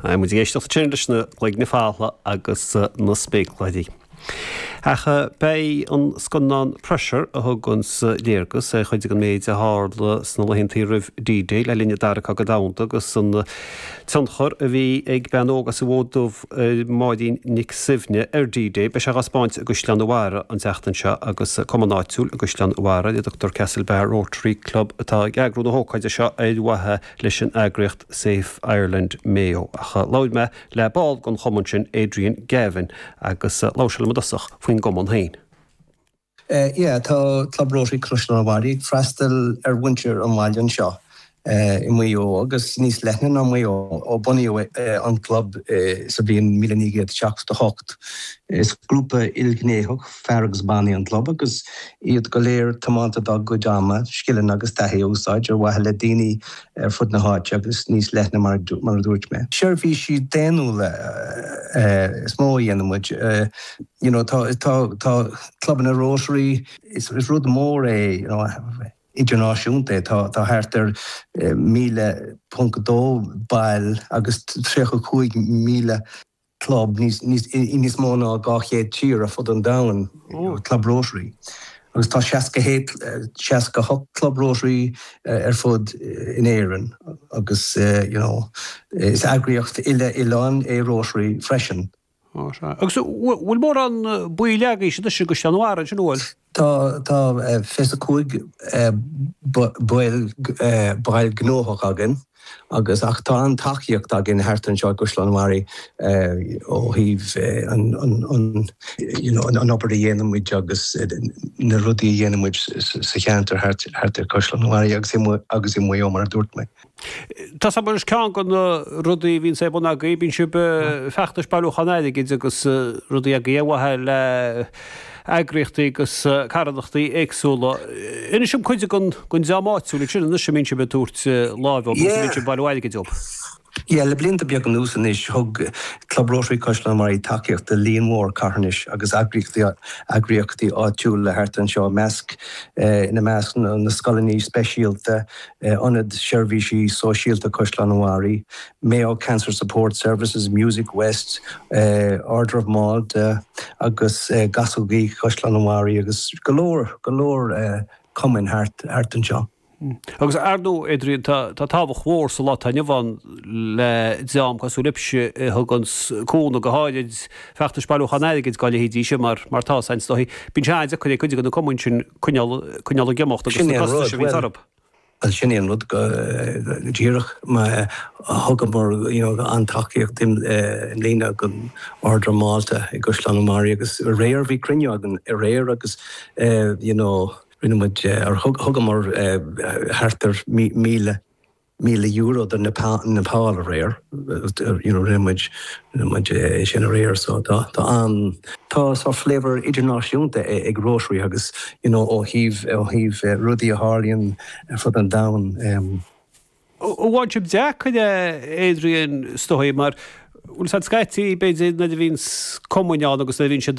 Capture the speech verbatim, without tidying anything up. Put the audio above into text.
Muid ag éisteacht sin leis na Cloigne Foltha agus na Spéacláirí. Ach beidh an scannán Pressure a thugann léargas ar chuid den méid a tharla sna laethanta roimh D-Day le linn an Dara Cogadh Domhanda agus an tionchar a bhí ag bean óg as an Mhóid Dubh Máirín Nic Suibhne ar D-Day, beidh sé á thaispeáint i gCaisleán an Bharraigh an tseachtain seo agus cumann áitiúil i gCaisleán an Bharraigh le Dr Castlebar Rotary Club atá ag eagrú na hócáide seo ar mhaithe leis an eagraíocht Safe Ireland Mayo. Ach labhair mé le ball den chumann sin Adrian Gavin agus labhair sé liom i dtosach faoin gcumann féin. Uh, yeah, tá Club Rotary Caisleán an Bharraigh ag freastal ar mhuintir an bhaile anseo uh, i Maigh Eo agus níos leithne ná Maigh Eo ó bunaíodh uh, an club uh, sa bhliain míle naoi gcéad seachtó hocht. Is grúpa ilghnéitheach fear agus ban é an club agus iad go léir tiomanta dá gcuid ama, scileanna agus taithí a úsáid ar mhaithe le daoine ar fud na háite agus níos leithne mar, mar a dúirt mé. Seirbhísí daonnúla uh, is mó a dhéanann muid. Uh, you know, tá, tá, tá clubanna Rotary is, is rud mór é you know, idirnáisiúnta tá tá thart ar míle ponc dó ball agus tríocha cúig míle club níos níos mó ná dhá chéad tír ar fud an domhain Club Rotary. Agus tá seasca hocht Club Rotary ar fud in Éirinn agus you know, is eagraíocht uile-oileáin é Rotary freisin. Agus bhfuil mórán baill agaibh i gCaisleán an Bharraigh sin bhfuil? Tá tá fiche cúig ball ball gnóthach againn agus ach tá an tacaíocht againn thart anseo i gCaisleán an Bharraigh ó thaobh an an obair a dhéanann muid agus na rudaí a dhéanann muid sa cheantar thart ar Chaisleán an Bharraigh agus agus i Maigh Eo mar a dúirt mé. Tá mar is ceann de na rudaí bhíonn sé bun agaibh, bíonn sibh feachtais bailiúchán airgid agus rudaí agaibh ar mhaithe le eagraíochtaí agus carthanachtaí éagsúla. Inis dom cuid den den dream áitiúil sin anois a mbíonn sibh ag tabhairt láimhe agus a mbíonn sibh bailiú airgid dóibh. Yeah, le blianta beaga anuas anois thug Club Rotary Caisleán an Bharraigh tacaíocht do líon mór carthanais agus eagraíochtaí eagraíochtaí áitiúla thart anseo measc ina measc na scoileanna speisialta, Ionad Seirbhísí Sóisialta Caisleán an Bharraigh, Mayo Cancer Support Services, Music West, Order of Malta agus Gasógaí Caisleán an Bharraigh agus go leor go leor cumainn thart thart anseo. Agus ar ndóigh Adrian tá tábhacht mhór sa lá atá inniu ann le dream cosúil libhse a thugann cúnamh go háirid feachtais bailiúchán airgid dá leithéidí sin mar mar tá san is dóichí. Bíonn sé an-deacair ag cuid de na cumainn sin coinneáil coinneáil ag imeacht agus na costais a bhíonn orthu. Well sin é an rud go díreach má thugamar you know, an tacaíocht i mbliana don Order of Malta i gCaisleán an Bharraigh agus aréir bhí cruinniú againn aréir agus you know, rinne muid ar thugamar thart ar míle míle euro do Nepal Nepal aréir you know, rinne muid rinne muid sin aréir so tá tá an tá sort flavour idirnáisiúnta ag Rotary agus you know, ó thaobh ó thaobh rudaí a tharlaíonn ar fud an domhain. Ó bhain sibh deacair Adrian is dóichí mar bhfuil siad scaití b'fhéidir nuair a bhíonn cumainn ann agus nuair a bhíonn siad